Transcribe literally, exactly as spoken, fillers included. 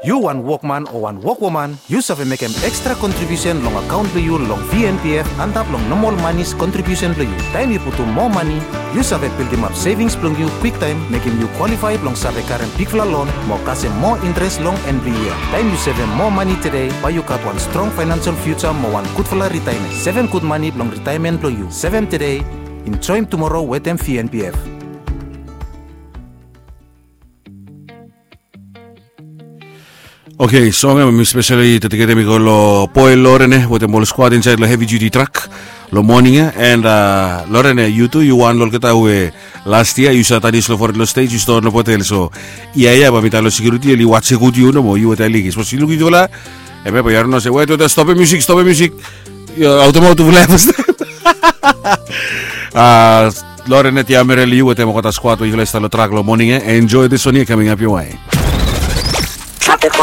Yu wan wokman o wan wokwoman, yu save mekem ekstra kontribiusen long akaon blong yu long V N P F antap long nomol manis kontribiusen blong yu. Taem yu putum moa mani, yu save bildimap sevings blong yu kwiktaem, mekem yu kwalifae blong save karem bigfala lon mo kasem moa interes long en blong yia. Taem yu sevem moa mani tede, bae yu gat wan strong faenansel fiuja mo wan gudfala ritaemen. Sevem gud mani blong ritaemen blong yu. Sevem tede, enjoem tumoro wetem V N P F. Oke, song ya mi speseli dediketem i go long boe Loren ya wetem ol skwad insaed long hevi diuti trak long moning ya. And Loren ya, yu tu yu wan long olgeta we las yia yu save danis long fored long stej, yu ston long botel. So yia ya bae mi talem long sekiuriti oli waje gud yu nomo, yu wetem Aliki. Sapos yu luk yutufala, hemia bae yu harim nao se, wet wet, stopem musik, stopem musik. Aotemap tufala ya fastaem. Loren ya, Tiamerel, yu wetem olgeta skwad we yufala i stap long trak long moning ya. Enjoe this one ya, kaming ap ya.